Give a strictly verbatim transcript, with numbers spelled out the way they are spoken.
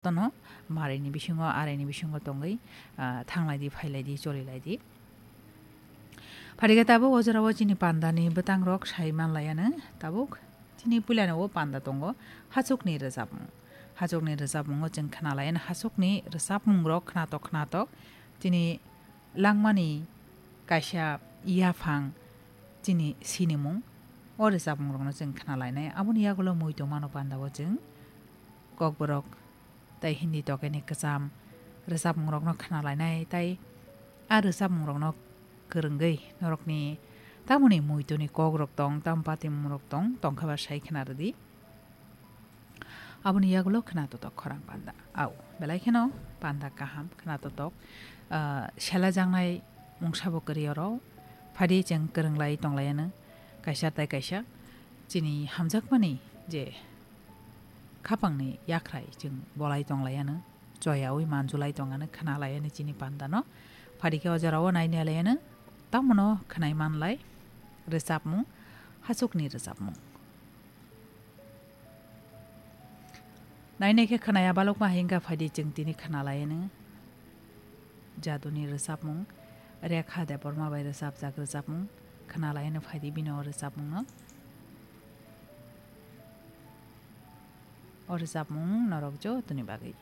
Tono marini bisingo, arini bisingo tongwi, ah, thanglai di, phailai di, cholilaidi. Phaikhe tabuk o jorao chini pandani bwtangrok sai manlaiano. Tabuk chini puilano o panda tongo, hachukni rwchapmung. Hachukni rwchapmungo chwng khnalaiano, hachukni rwchapmungrok khnatok khnatok chini langmani kaisa yaphang chini sinimung, o rwchapmungrokno chwng khnalainai. Aboni yagulo muitu mano pandao chwng kokborok tei Hindi tokeni kwcham rwchapmungrokno khnalainai, tei a rwchapmungrokno kwrwngwi norokni tamoni muituni kokrok tong, tamo patimungrok tong, tongkha ba sai khna rwdi. Aboni yagulo khna totok khorang panda. Au, belai kheno panda kaham khna totok, ah, sela jangnai mungsa bo kwrwi oro. Phadi chwng kwrwnglai tonglaiano kaisa tai kaisa. Chini hamjakmani je khapangni yakhrai chwng bolai tonglaiano, choyaui manjulai tongano, khnalaiano chini pandano. Phadi khe o jorao nainalaiano, tamono khnai manlai rwchapmung, hachukni rwchapmung. Nainai khe khnaya balokma hai wngkha, phaidi chwng tini khnalaiano jaduni rwchapmung, Rekha Debbarma bai rwchapjak rwchapmung khnalaiano, phaidi bini o rwchapmungno. O rwchapmung norok jotoni bagwi